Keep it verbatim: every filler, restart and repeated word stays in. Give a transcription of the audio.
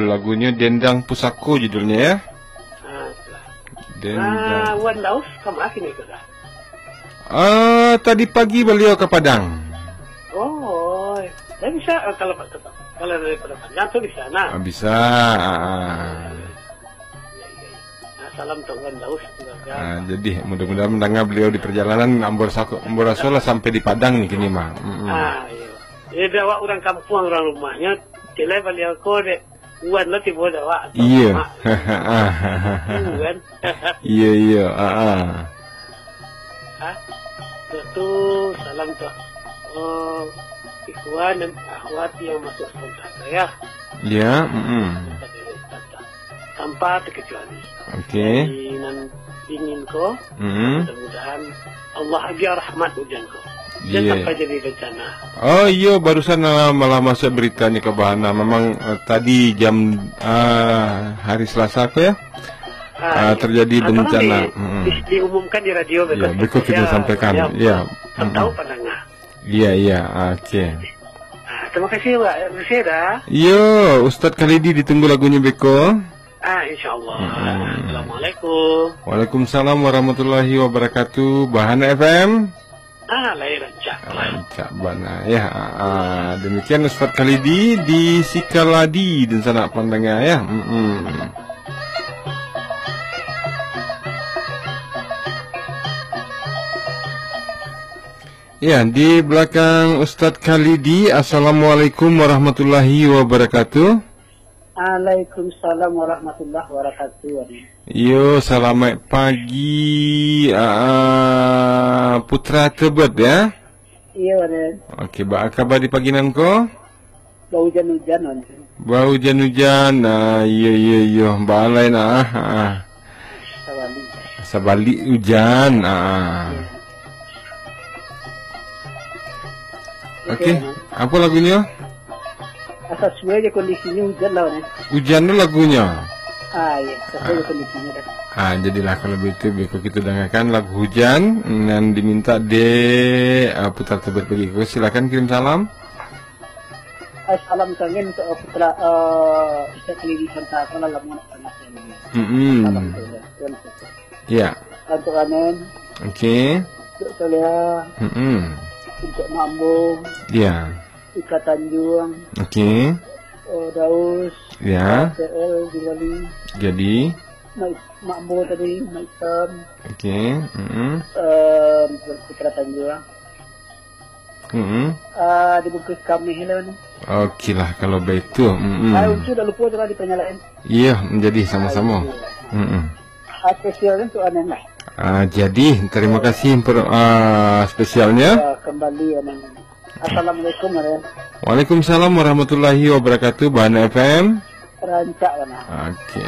Lagunyo Dendang Pusako judulnyo, ya. Ah, itulah. Dendang. Ah, Wan Daus ka ma kini ko, Da? Ah, tadi pagi baliau ka Padang. Oh, ya bisa, eh, kalau, kalau dari Padang Panjang tu bisa, nah. Ah, bisa, ah, ah. Ya, ya, ya. Nah, salam untuk Wan Daus, keluarga. Ah, jadi, mudah-mudahan mandanga baliau di perjalanan, ambo raso, ambo raso lah sampai di Padang ni kini mah. Mm-mm. Ah, iya. Ya, dia awak urang kampuang, urang rumahnyo, cilai baliau ko, dek. Wan lah tibo dek awak. Iyo. Mak. Wan. Iyo, iyo. Ah, ah. Ha? Tu, tu, salam tu. Oh, ikhwan dan akhwat yang masuk sekolah saya. Ya, mm-mm. Tanpa terkecuali. Oke. Dari nan dingin ko, Mm-mm. mudah-mudahan Allah agiah rahmat hujan ko. Jangan Iya. sampai jadi bencana. Oh, iyo, barusan, ah, malah masuk beritanya ke Bahana. Memang, eh, tadi jam, ah, hari Selasa ko, ya? Ah, Ah, iya. terjadi Ah, tolong bencana. di-, Mm-mm. di-, diumumkan di radio, Ya, besok. Berikut kita Ya, sampaikan. ya, Ya. tetap tahu Mm-mm. pendengar. Iya, iya. Oke. Ah, terima kasih, Wak. Terima kasih, Da. Yo, Ustaz Khalidi ditunggu lagunya beko. Ah, insyaallah. Mm-mm. Assalamualaikum. Waalaikumsalam warahmatullahi wabarakatuh. Bahana F M. Ah, lahir rancak. Rancak bana. Ya, ah, ah. Demikian Ustaz Khalidi di Sikaladi dan sanak pandanga, ya. Mm-mm. Ya, di belakang Ustaz Khalidi. Assalamualaikum warahmatullahi wabarakatuh. Waalaikumsalam warahmatullahi wabarakatuh. Yo, selamat pagi, ah, Putra Tebet, ya. Iyo, Raden. Oke, ba kaba di pagi nan ko? Baujan-ujan, Raden. Baujan-ujan, ah, iyo, iyo, iyo. Balai nah, ah. Sabalik. Sabalik ujan, ah. Iyo. Oke, Oke, Raden. Apa lagunyo? Asa suai je kondisinyo ujan lah, Raden. Ujan tu lagunyo? Ah, iyo, asa suai je Ah. kondisinyo, Raden. Ah, jadilah kalau begitu, beko kita dengarkan lagu Hujan yang diminta dek, ah, Putra Tebet pagi ko. Silakan kirim salam. Eh, salam kangen untuk, eh, Putra, eh, Ustaz Khalidi Santa, salam lama nak panas ini. Mm-mm. Salam untuk Ustaz. Ya. Untuk Anen. Oke. Untuk Soleha. Mm-mm. Untuk Mambo. Ya. Ika Tanjung. Oke. Oh, Daus. Ya. T L di Bali. Jadi. Mak, Mambo tadi, Mak Itam. Oke. Mm-mm. Eh, Putra Tanjung. Mm-mm. Ah, dibungkus kami lah ni. Oke lah, kalau begitu. Mm-mm. Ah, Uncu dah lupa tu lah dipanyalain. Iya, menjadi sama-sama. Ah, iya. Mm-mm. Ah, spesial untuk Anen lah. Ah, jadi, terima kasih per-, ah, spesialnya. Ah, kembali, Anen. Assalamualaikum, Anen. Waalaikumsalam warahmatullahi wabarakatuh, Bahana F M. Rancak, Anen. Oke.